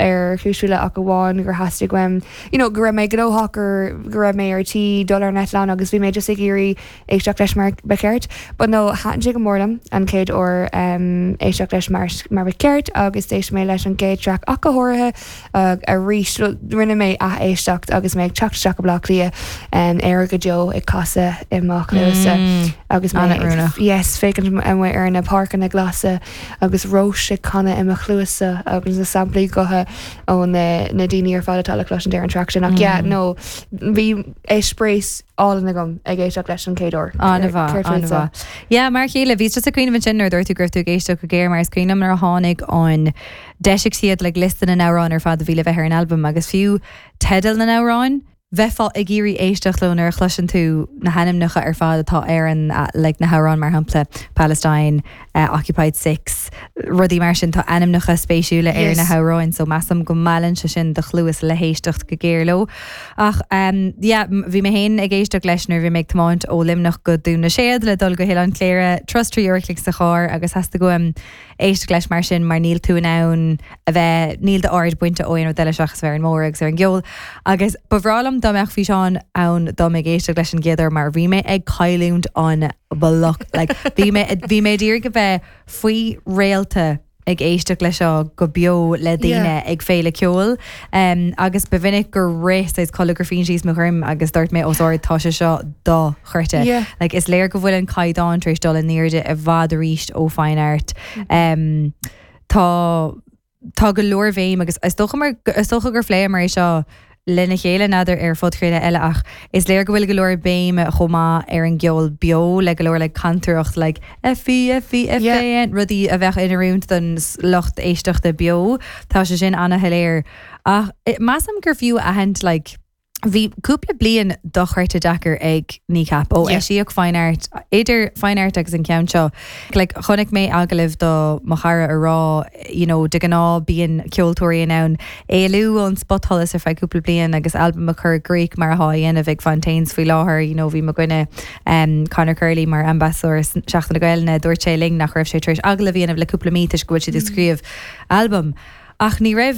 ar chúis faoi leith ach amháin gur theastaigh uaim, you know, go raibh mé gnóthach or go raibh mé ar tí dul ar an eitleán agus bhí mé just ag iarraidh éisteacht leis mar ba cheart. But no, thaitin sé go mór liom an chéad uair éisteacht leis mar mar ba cheart agus d'éist mé leis an gcéad traic ach go háirithe arís. Rinne mé ath-éisteacht agus mé ag teacht isteach go Baile Átha Cliath, Éire go deo ag casadh i mo chluasa agus mé ag, yes, féachaint amuigh ar na páirceanna glasa agus Róis ag canadh i mo chluasa agus na samplaí gutha ó na na daoine ar fad atá le cloisint ar an traic sin. Ach yeah, no, bhí eispéireas álainn agam ag éisteacht leis an chéad uair. An-mhaith, an-mhaith. Yeah, mar a chéile, bhíos just ag cuimhneamh ansin nuair a dúirt tú go raibh tú ag éisteacht go géar mar is cuimhin liom nuair a tháinig an, d'eisigh siad like liosta na n-amhrán ar fad a bhí le bheith ar an albam agus fiú teideal na n-amhrán, bheifeá ag iarraidh éisteacht leo nuair a chloiseann tú na hainmneacha ar fad atá ar an like na hamhráin mar shampla Palestine, Occupied 6, rudaí mar sin, tá ainmneacha spéisiúla ar na hamhráin so measaim go meallann sé sin do chluas le héisteacht go géar leo. Ach yeah, bhí mé féin ag éisteacht leis nuair a bhí mé ag tiomáint ó Luimneach go Dún na Séad le dul go hOileán Cléire, turas 3 uair a chloig sa charr agus theastaigh uaim éisteacht leis mar sin mar níl tú in ann a bheith, níl d'aird bainte ó aon rud eile seachas bheith ar an mbóthar agus ar an gceol. Agus ba bhreá liom dá mbeadh físeán ann dom ag éisteacht leis an gcéad uair mar bhí mé ag cailliúint an bloc. Like, bhí mé, bhí mé d'iarraidh a bheith faoi réalta ag éisteacht leis seo go beo le daoine ag féile ceoil. Um, agus ba mhinic gur rith saghas colagraifín síos mo dhroim agus dúirt mé os ard tá sé seo dochreidte. Yeah. Like, is léir go bhfuil an caighdeán tar éis dul in airde i bhfad arís ó Fine Art. Um, tá tá go leor béim agus is dócha mar is dócha gur phléamar é seo lena chéile n'fheadar ar phodchraoladh eile ach is léir go bhfuil go leor béime chomh maith ar an gceol beo le go leor like cantaireacht like F E F E F A N rudaí a bheadh in oiriúint don lucht éisteachta beo tá sé sin ana-shoiléir ach measaim gur fiú a aithint like Bhí cúpla bliain dochreidte deacair ag Kneecap ó eisíodh Fine Art, idir Fine Art agus an ceann seo. Like, chonaic mé agallamh do mo chara a rá, you know, de ghnáth bíonn ceoltóirí in ann éalú ón spotsholas ar feadh cúpla bliain agus albam a chur i gcrích mar atá á dhéanamh ag Fontaines faoi láthair. You know, bhí mo dhuine, um, Conor Curley mar ambasadóir Seachtain na Gaelainne, dúirt sé linn nach raibh sé tar éis agallamh a dhéanamh le cúpla mí toisc go bhfuil siad ag scríobh albam. Ach ní raibh.